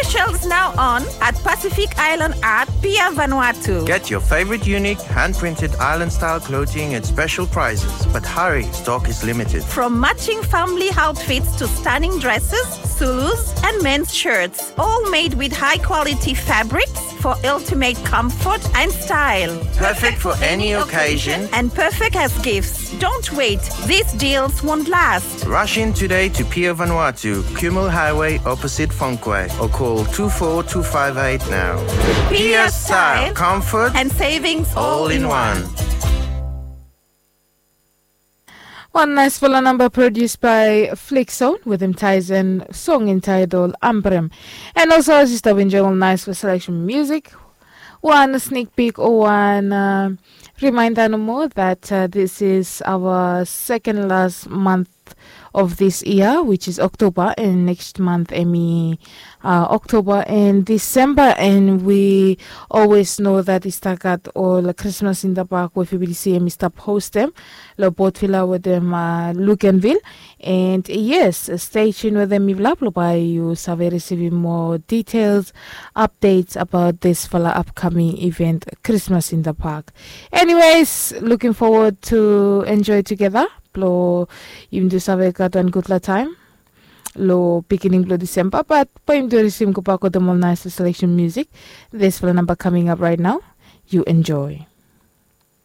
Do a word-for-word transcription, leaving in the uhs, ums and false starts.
Specials now on at Pacific Island Art, Pier Vanuatu. Get your favorite unique hand-printed island-style clothing at special prices, but hurry, stock is limited. From matching family outfits to stunning dresses, Zulus, and men's shirts, all made with high-quality fabrics for ultimate comfort and style. Perfect for any occasion and perfect as gifts. Don't wait, these deals won't last. Rush in today to Pier Vanuatu, Kumul Highway, opposite Fonquay, or call two four two five eight now. Pier style, comfort, and savings all in one. Wan naisfala namba prodused by Flixon wetem Tyson, song entitled Ambrem. And also, as you stop enjoying all nice for selection music, wan sneak peek o wan uh, reminder nomo that uh, this is our second last month of this year, which is October, and next month hemi uh, October and December, and we always know that i stap gat ol Christmas in the Park we F B C hemi stap hostem lo Port Vila wetem uh, Luganville. And yes, stay tuned wetem mifala blo bae yu save risivim moa details, updates about this fala upcoming event, Christmas in the Park. Anyways, looking forward to enjoy together. Blo yumi tu save gat wan gudfala taem lo beginning blo December, but bae yumi tu risivim gobak wetem ol nice selection music. This fala namba coming up right now. You enjoy.